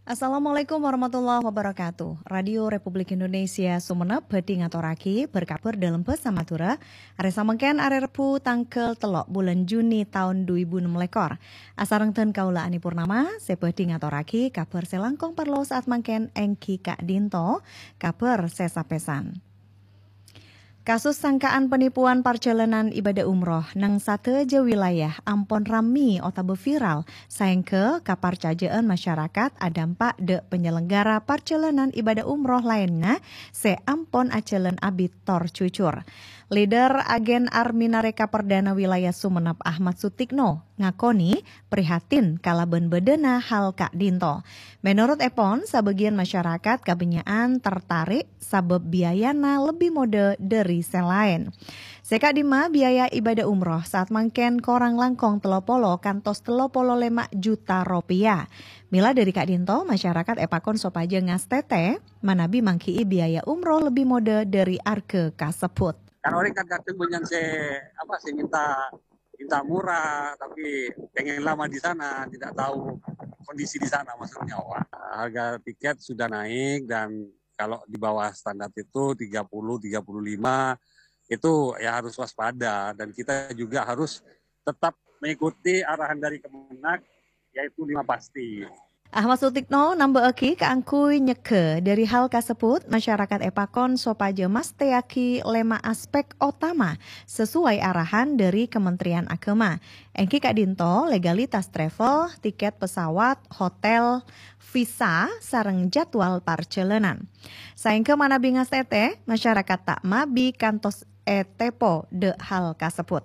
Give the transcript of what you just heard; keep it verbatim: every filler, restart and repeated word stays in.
Assalamualaikum warahmatullahi wabarakatuh. Radio Republik Indonesia Sumenep bhâdhi ngatorraghi bâr-kabhâr dâlem bhâsa Madhurâ. Arè samangkèn arè Rebbhu tangghâl tello' bulân Juni taon du èbu ennem lèkor. Asareng dân kaulâ Ani Purnama, sè bhâdhi ngatorraghi kabhâr sè langkong parlo saat mangkèn èngghi ka'dinto, kabhâr sè sapèsan. Kasus sangkaan penipuan parjhâlânan ibâdâ umroh neng sadhâjâ wilayah ampon rammè otabâ viral, saèngghâ kaparcajâ'ân masyarakat adâmpa' dâ' panyelenggara parjhâlânan ibâdâ umroh laènna sè ampon ajhâlân abit tor jujur. Leader Agen Arminareka Perdana Wilayah Sumenep Ahmad Sutikno ngakonè prihatin kalabân bâdâna hal ka'dinto. Menurut èpon, sabâgiyân masyarakat kabânnya'an tertarik sabâb biayana lebbi modâ dâri sè laèn. Sè ka'dimma biaya ibâdâ umroh saat mangkèn korang langkong tello polo kantos tello polo lèma juta ropèya. Mèla dâri ka'dinto, masyarakat èpakon sopajâ ngastètè manabi mangghi'i biaya umroh lebbi modâ dâri arghâ kasebbhut. Kan orèng kan kadhâng bânnya'an sè, apa, sè minta, minta murah, tapi pengen lama di sana, tidak tahu kondisi di sana, maksudnya, Pak. Harga tiket sudah naik dan kalau di bawah standar itu tiga puluh, tiga puluh lima, itu ya harus waspada dan kita juga harus tetap mengikuti arahan dari Kemenag, yaitu lima pasti. Ahmad Sutikno nambâ'âghi kaangghuy nyegghâ dâri hal kasebbhut, masyarakat èpakon sopajâ mastèyaghi lèma aspek otama sesuai arahan dâri Kementerian Agama. Èngghi ka'dinto legalitas travel, tiket pesawat, hotel, visa, sareng jadwal parjhâlânan. Saèngghâ manabi ngastètè, masyarakat ta' mabi kantos ètepo dâ' hal kasebbhut.